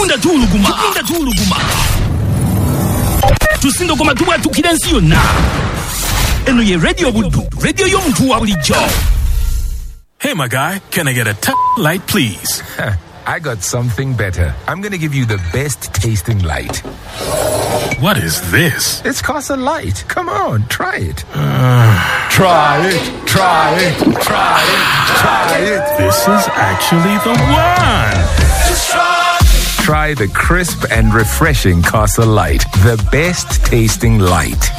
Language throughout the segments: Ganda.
Tugunda tuwuluguma, tugunda tuwuluguma, tusindogoma, tubwatukira ensi yonna. Eno ye Radio Buddu, radio y'omuntu wa bulijjo. Hey, my guy, can I get a light, please? I got something better. I'm going to give you the best tasting light. What is this? It's Casa Light. Come on, try it. Try it, try it, try it, try it. This is actually the one. Try the crisp and refreshing Casa Light, the best tasting light.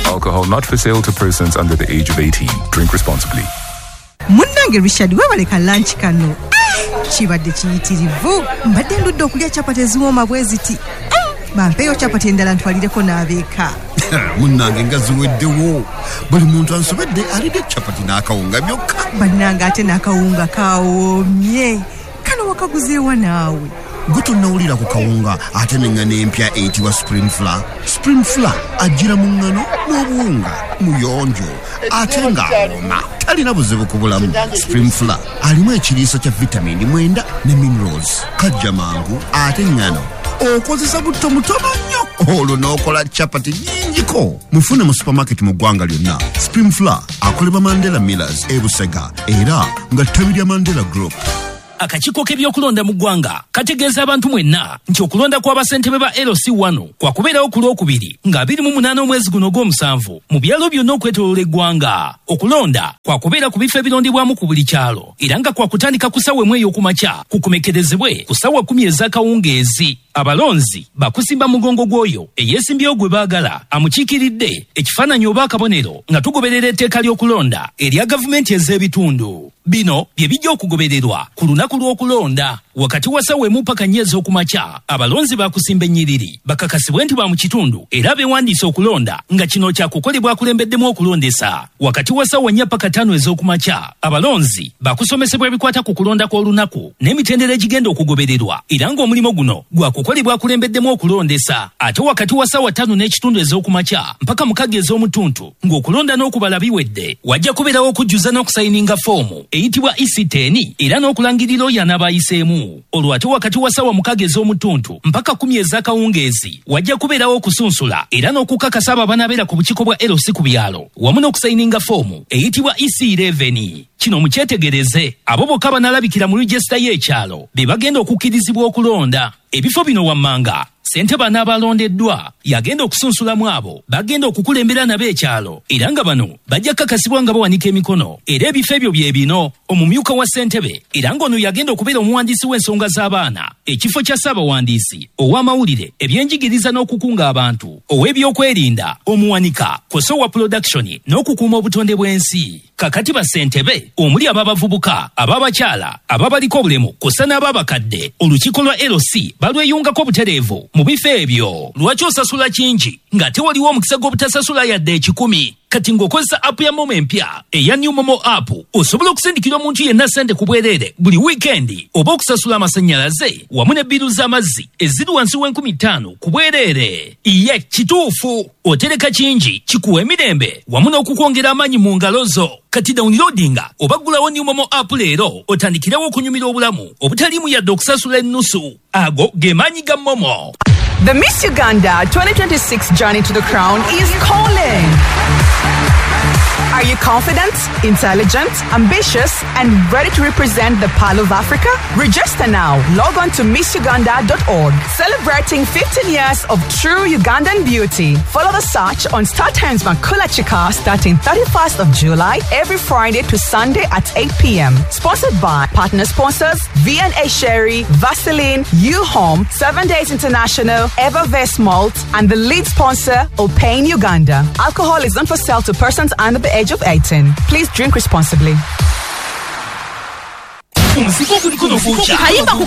Alcohol not for sale to persons under the age of 18. Drink responsibly. Munnange Richard, webale ka lunch kano. Kibadde kiyitirivu. Mbadde ndudde okulya capati eziwooma bwe ziti. Bampeeyo capati endala ntwalireko n'abeeka. Munnange, nga ziweddewo. Buli muntu ansobedde alidde capati n'akawunga byokka. Bannange, ate n'akawunga kawoomye. Kano wakaguzeewa naawe? Gwe tonnawulira ku kawunga ate n'eŋŋano empya eyitibwa Supreme Flour? Supreme Flour ajjira mu ŋŋano n'obuwunga, muyonjo ate ng'awooma, talina buzibu ku bulamu. Supreme Flour alimu ekiriisa kya vitamini 9 ne minerals. Kajja mangu ate ŋŋano okozesa butto mutono nnyo, olwo n'okola capati nnyingiko. Mufune mu supermarket mu ggwanga lyonna. Supreme Flour akolebwa Mandela Millers e Busega, era nga ttabi lya Mandela Group. Akakiiko k'ebyokulonda mu ggwanga kategeeza abantu mwenna nti okulonda kw'abasentebe ba LC1 kwakubeerawo ku Lwokubiri nga 28 omwezi guno ogw'omusanvu mu byalo byonna okwetooloola eggwanga. Okulonda kwakubeera ku bifo ebirondebwamu ku buli kyalo, era nga kwakutandika ku ssaawa 1 ey'okumakya kukomekerezebwe ku ssaawa 10 ez'akawungeezi. Abalonzi bakusimba mugongo gw'oyo eyeesimbyewo gwe baagala amukiikiridde ekifaananyi oba akabonero, nga tugoberera etteeka ly'okulonda erya gavumenti ez'ebitundu. Bino bye bijja okugobererwa ku lunaku lw'okulonda. Wakati wa ssaawa 1 paka 4 ez'okumakya, abalonzi bakusimba ennyiriri bakakasibwe nti ba mu kitundu era beewandiise okulonda, nga kino kyakukolebwa akulembeddemu okulondesa. Wakati wa ssaawa 4 paka 5 ez'okumakya, abalonzi bakusomesebwa ebikwata ku kulonda kw'olunaku n'emitendera egigenda okugobererwa, era ng'omulimu guno gwakukolebwa akulembeddemu okulondesa. Ate wakati wa ssaawa 5:30 ez'okumakya mpaka 6 ez'omutuntu, ng'okulonda n'okubala biwedde, wajja kubeerawo okujjuza n'okusayininga foomu eyitibwa EC10 era n'okulangirira oyo anaabayiseemu. Olwo ate wakati wa ssaawa 6 ez'omutuntu mpaka 10 ez'akawungeezi, wajja kubeerawo okusunsula era n'okukakasa abo abanaabeera ku bukiiko bwa LC ku byalo, wamu n'okusayininga foomu eyitibwa EC11. Kino mukyetegereze, abo bokka banaalabikira mu regisita y'ekyalo be bagenda okukkirizibwa okulonda. Ebifo bino wammanga: ssentebe anaabalondeddwa yagenda okusunsulamu abo bagenda okukulembera nabo ekyalo, era nga bano bajja kukakasibwa nga bawanika emikono. Era ebifo ebyo bye bino: omumyuka wa ssentebe, era ng'ono yagenda okubeera omuwandiisi w'ensonga z'abaana, ekifo kya ssaabawandiisi, ow'amawulire, ebyenjigiriza n'okukunga abantu, ow'ebyokwerinda, omuwanika kw'ossa owa production n'okukuuma obutonde bw'ensi. Kakati bassentebe omuli ab'abavubuka, ab'abakyala, ababaliko obulemu kw'ossa n'ab'abakadde, olukiiko lwa LC balweyungako butereevu mu bifo ebyo. Lwaki osasula kingi ng'ate waliwo omukisa gw'obutasasula yadde 100? Kati ng'okozesa app ya MoMo empya eya New MoMo app, osobola okusindikira omuntu yenna ssente ku bwereere buli wiikendi, oba okusasula amasannyalaze wamu ne bbiiru z'amazzi eziri wansi w'5,000 ku bwereere. Iye kituufu, otereka kingi kikuwa emirembe wamu n'okukwongera amaanyi mu ngalo zo. Kati downloadinga oba ggulawo New MoMo app leero, otandikirewo okunyumira obulamu obutaliimu yadde okusasula ennusu. Ago ge maanyi ga MoMo. The Miss Uganda 2026 journey to the crown is calling. Are you confident, intelligent, ambitious, and ready to represent the Pearl of Africa? Register now. Log on to missuganda.org. Celebrating 15 years of true Ugandan beauty. Follow the search on Star Times Makula Chika starting 31st of July, every Friday to Sunday at 8 p.m. Sponsored by partner sponsors V&A Sherry, Vaseline, U-Home, 7 Days International, Evervest Malt, and the lead sponsor, Opane Uganda. Alcohol is not for sale to persons under the age of 18. Please drink responsibly. Omuzigo guliko nokwokya. Kayimba ku.